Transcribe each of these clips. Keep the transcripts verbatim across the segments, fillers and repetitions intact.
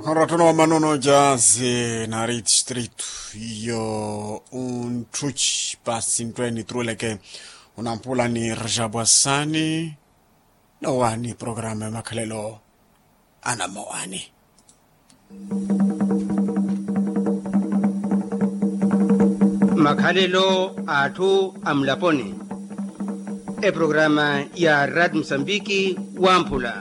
Orottono wa manono jazi nari distritu iyo unttuci pasi nttwe nitruweleke. Onampula ni rajabwa sani. Nowaani programa ya makhalelo anamowani. Makhalelo a atthu a mulaponi. Eprograma ya rad musambiki wamphula.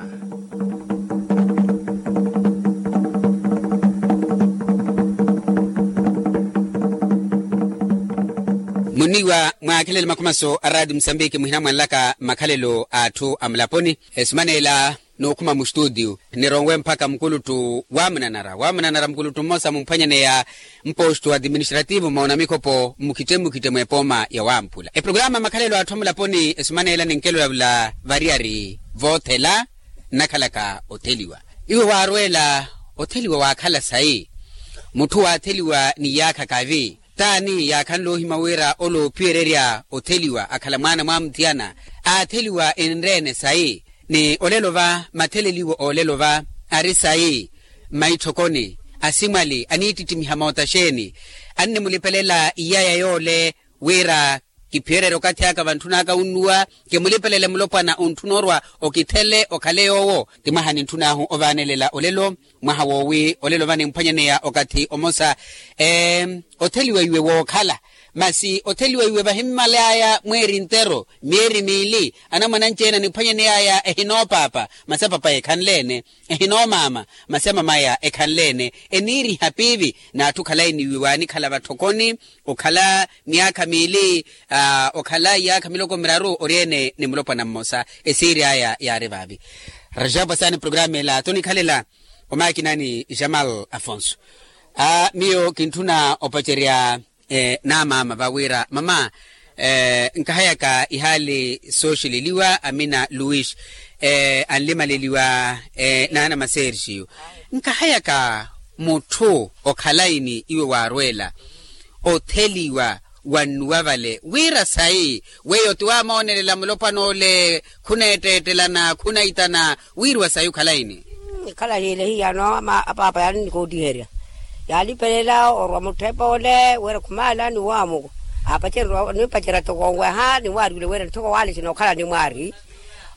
Muniwa mwaakhelele makhumaso a rad musambiki muhina mwanlaka makhalelo a atthu a mulaponi. Esumanela n'ukhuma mustutiyu nironwe mpakha mukuluttu wamunanara wamunanara mukuluttu mmosa mumphwanyaneya mpostu administrativu moona mikhopo mmukhitte mmukhitte mwepooma ya wamphula eprograma makhalelo atthu amulaponi esumanela ninkelolavula variyari voothela nnakhalaka otheliwa iwe waarweela otheliwa waakhala sayi mutthu waatheliwa ni yaakha kavi taani yaakhanle ohima wira ole oophiyererya otheliwa akhala mwaana mwamuthiyana aatheliwa enreene sayi ni olelo va matheleliwo olelo va ari sayi mmaitthokoni asimwali aniittittimiha moota xeeni annimulipelela iyaya yoole wira kiphiyererye okathi aka vantthun'aka wunnuwa kimulipelele mulopwana ontthuna orwa okithele okhale yoowo ti mwaha nintthun'ahu ovaanelela olelo mwaha woowi olelo vanimphwanyaneya okathi omosa otheliwa iwe wookhala masi otheliwa iwe vahimmal'aya mweeri ntero myeeri miili anamwane anci-ene animphwanyaney'aya ehinoopaapa masi apaapaya ekhanle-ene ehinoomaama masi amamaya ekhanle-ene eniiriha piivi n'atthu khalayi ni iwe waanikhala vatthokoni okhala myaakha miili okhala iyaakha miloko miraru ori-ene ni mulopwana mmosa esiiri aya yaari vaavi rajabu asaani programa ela tonikhalela omaakinani jamal afonso miyo kintthuna opacerya n'amaama va wira mama nkahayaka ihaali sooxeleliwa amina luis anlimaleliwa n'anama sergio nkahayaka mutthu okhalayi ni iwe waarweela otheliwa wannuwa vale wira sayi weyo ti waamoonelela mulopwana ole khuneetteettelana khunaitana wiiriwa sayi okhalayi ni ikhala hiile hiyano apaapa yaalinnikootiherya yaalipelela orwa mutthepa ole wira khumaala ni waamuku aapacererya nipacerya toko onweha ni waariwile wira nthoko waale sinookhala ni mwaari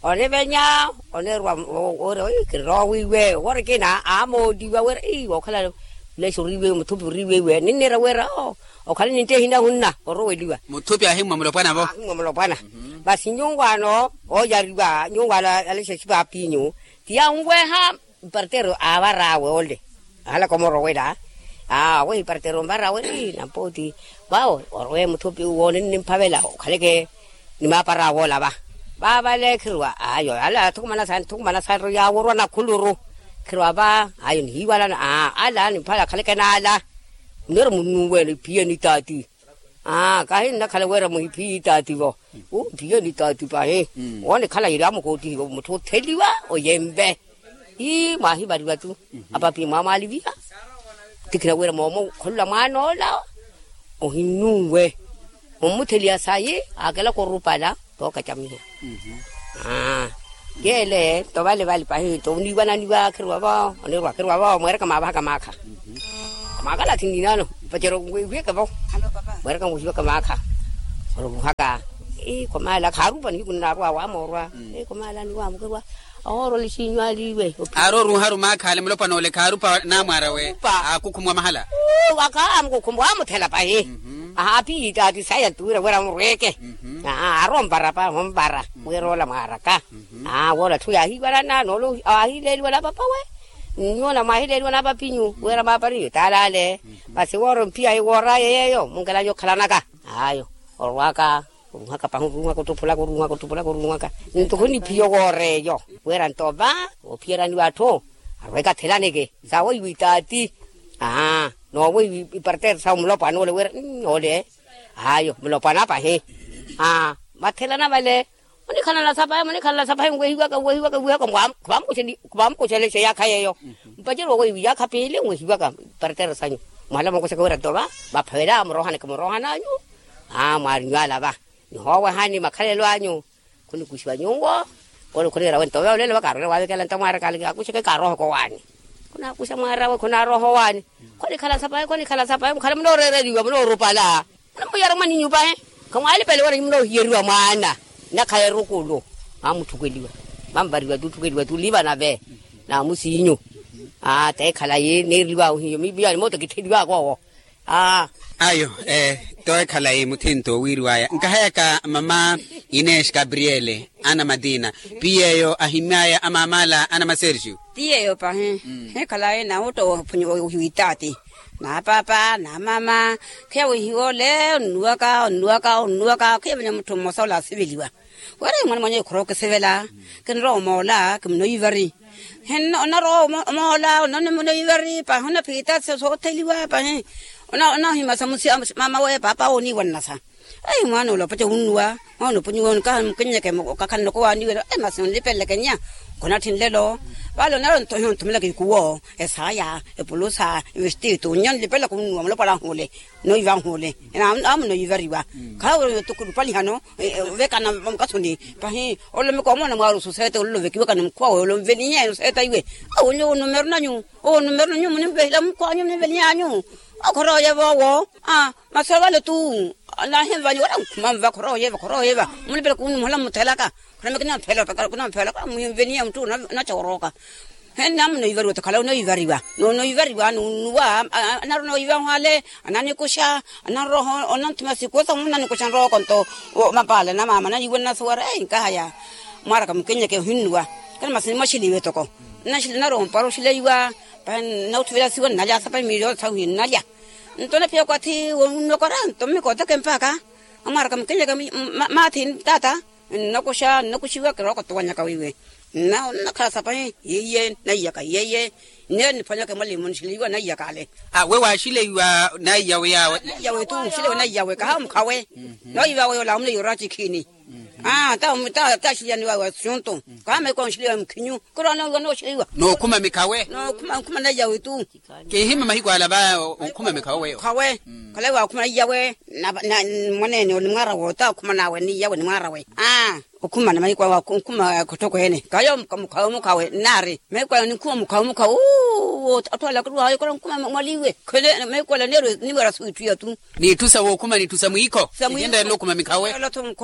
onivenya onirwa wira ii kirira owiiwe wira ekina aamooliwa wira ii wookhala lexa oriiwe muthupi oriiwe iwe ninniira wira oo okhala nintte ehina hunna oroweliwa muthupi ahimmwa mulopwana-vo ahimmwa mulopwana masi nyuwaano ooyariwa nyuwaano alexa exipapinyu ti yanweha ipartero aavar'awe ole ahalaka omorowela aa wehi ipartero onvar'awe ii nampooti vawo orowe muthupi uwo ninnimphavela okhaleke ni maapar'awe ola va vaavale khirwa ayo ala athukumana saani thukumana saani yaworwa nakhuluru khirwa va ayo nihiiwalana aa ala nimphavela akhaleke n'ala munero munnuwene iphiye ni taati aa kahi nnakhala wira muhiphiye itaati vo umphiye ni taati pahi wonikhala yiri amukootihiwe mutthu otheliwa oyemve ii mwaahivariwa tu apapi mwaamwaaliviha tikhina wira moomo okhololwa mwaan'ola ohinnuwe ommutheliya sayi aakelaka orupala tookacamiha yeele nto vale vale pahi nto oniiwananiwa khirwa vo onirwa khirwa vo mweereka maavahaka maakha maakhala athinninano vacero wihiyeke vo mweereka wihiyeke maakha oruhaka ii khomala khaarupa nihiku nnaarwa waamoorwa ii khomala niwaamukerwa ahoorwa lixinyu aliiwe aari oruharu maakha ale mulopwana ole khaarupa naamwaara we aakukhumwa mahala wakaamukukhumwa waamuthela pahi ahaaphiyi taati saya ntuwira wira murweke aari ompara pahi ompara wira ola mwaaraka woola atthu yaahiivalana noola aahileeliwa na papawe nyuwo namwaahileeliwa na papinyu wira maapariyo taala ale masi woora omphiyahi woor'aya yeeyo munkelanya okhalanaka ayo orwaka oruhaka pahi oruhaka ottuphulaka oruhaka ottuphulaka oruhaka nto khuniphiya owoora eyo wira nto va oophiyeraniwa atthu arweke athelaneke sawo iwe itaati aa nowo ipartero sawo mulopwana ole wira ole ayo mulopwana pahi aa mathelana vale munikhalana sapahi munikhalana sapahi nwehiwaka nwehiwaka nwehiwaka khuvaamukuxelexa iyaakha yeeyo mpacelo weiwi iyaakha piili nwehiwaka ipartero sanyu mwahala mookuxaka wira nto va vaphavela murohaneke murohananyu aa mwaarinyu ala va nihoowehani makhalelo anyu khunikuxiwa nyuwo khuniira wento ve olelo va kaarwele waavekela nto mwaaraka ale akuxeke kaarohaka owaani Khunaakuxa mwaarawe khunaaroha owaani. Khonikhala sapayi khonikhala sapayi mukhala munooreereriwa munoorupala. Munamuyara mwaninyu pahi. Khamwaalipele wala nyumu noohiyeriwa mwaana. Nakhala erukulu. Mwamutthukeliwa. Mwamuvariwa tutthukheliwa tuliva nave. Namusinyu. Aa teekhala yi neereliwa ohiyo mipiya ni mooto kittheliwaka owo. Aa. Ayo. Toekhala yi muthinto wiiriwaya nkahayaka mama. Inesh gabriele ana matina. Piyeyo ahimyaya amamala ana masergio. Tiyeyo pahi. Hikhala yi nawutta ohiwitaati. Napaapa namama. Khiya wihiwa ole onnuwaka onnuwaka onnuwaka khiya vanya mutthu mmosa ole asiveliwa. Wira imwana mwanya ikhorowa okisivela. Kinrowa omoola kimunoivari. Onnarowa omoola onnoivari pahi onnaphita sootheliwa pahi. Onnohimasa mama we paapa wooniiwa nnasa. Ayi mwaana ole opaca wunnuwa. Mwaana opunyiwa onikaha mukinnyeke okakhala noko waaniwela masi onlipeleleke nnya. Khunatthi nlelo. Vale onarwa ontohi onthumelaka ikuwo, esaaya, epulusa, evestitu nnya onlipelelaka wunnuwa mulopwala anhuule. Noiva anhuule. Amunoivariwa. Khawe otukulu palihano. Vekana mukasuni. Pahi olomeka omoona mwaari osuseete olovekiwekana mukhuwa we olomvelinyeni oseeta iwe. Awo nyuwo onumeru nanyu. Owo onumeru nanyu munimvehila mukhuwa wanyu munimveliny'anyu. Okhorooyeva owo. Masi ovale tu. Nahimvanyu wala nkhuma nva khorooyeva khorooyeva. Mulipelaka wunnuwa muhola mmuthelaka. Khuremeke namphela opekala khunamphela khula muyunveniya muttu. Onacha orooka. Henne amunoivariwa otakhala onoivariwa. Nonoivariwa nunnuwa. Anarwa noiva nhwale. Ananikuxa. Ananroha onanthuma sikuwo samu onanikuxa nrooko nto. Mapaala na mama nayiwe nnasuwara eyi nkahaya. Mwaaraka mukinnyeke ohinnuwa. Kana masi nimwaxiliwe toko. Nnaxili narowa ompara oxileiwa. Pahi nnauthuvela siwa nnalya sapa miili yoothe sahu nnalya. Nto naphiya kwathi wonunokora nto mmikooteke mpakha. Amwaaraka mukinnyeke. Maathi taata. Nnakuxa nnakuxiwa kirooko towanyaka wiiwe. Nnakhala sapahi yiiye naiyaka yiiye. Nneyo niphwanyaka emwalimu nixiliwa naiyaka ale. We waaxileiwa naiyawe yawe. Naiyawe tu nxileiwa naiyawe kahawa mukhawe. Noiva we yoola amuleiwa oracikhini. Taxiliyaniwa wa xuntu. Kahawa maiko nxiliwa mukhinyu. Kiro anooiwa nooxiliwa. Nookhuma mikhawe. Nookhuma naiyawe tu. Kihima mahiku ala va okhuma mikhawe weyo. Khawe. Khalayi waakhuma naiyawe. Mwaneene onimwaara woota okhuma nawe niyawe nimwaara we. Okhumana mahiku awe okhuma khotthokweene kayo. Mukhawe mukhawe nnaari mahiku awe ninkhuma mukhawe mukhawe. Uwo atthu ala akirwaayo kala nkhuma mwaliwe. Khene mahiku ala neerwe niwera swiitthu yathu. N'itthu sa wookhuma n'itthu sa mwiikho. Sa mwiikho. Ninendelela okhuma mikhawe.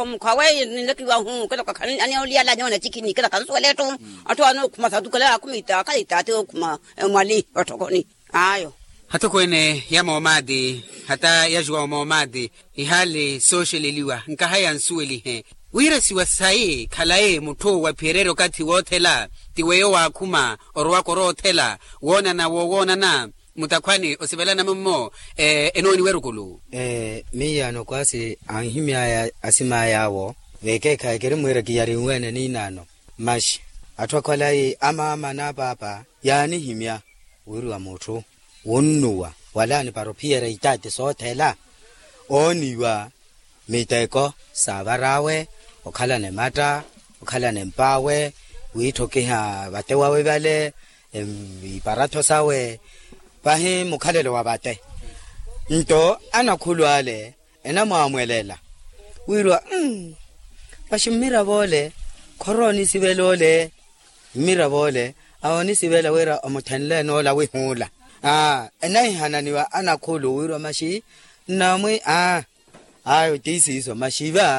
Mukhawe ninlekiwahu kala kakhala aniolyala anyoona cikhini kala kansuwela etthu. Atthu anookhuma satu kala akhuma itaakha itaati ookhuma. Mwali otthokoni. Ayo. Hatokweene ya moomaati hata yajuwa wa moomaati. Ihaali sooxeleliwa nkahaya nsuwelihe. Wiirasiwa sayi khalayi mutthu wa phiyereerya okathi woothela ti weyo waakhuma orowaka oroothela woonana woowoonana. Mutakhwani osivelana mummo enooniwa erukulu. Miyaano kwaasi anhimy'aya asim'ay'awo vekeekhayi kirimwiira kiyarinweene niinaano. Maxi atthu akhwalayi amaama n'apaapa yaanihimya wiiriwa mutthu wunnuwa wala anipara ophiyerya itaati soothela ooniiwa miteko saavar'awe okhalana ematta okhalana emp'awe wiitthokiha vate wawe vale iparatho sawe pahi mukhalelo wa vate. Nto anakhulu ale enamwaamwelela wiiriwa mmm maxi mmiravo ole khorowa onisivela ole mmiravo ole awo onisivela wira omuthenle enoola wihuula. Aa enahihananiwa anakhulu wiiriwa maxi nnamwi aa ayo ti siiso maxi va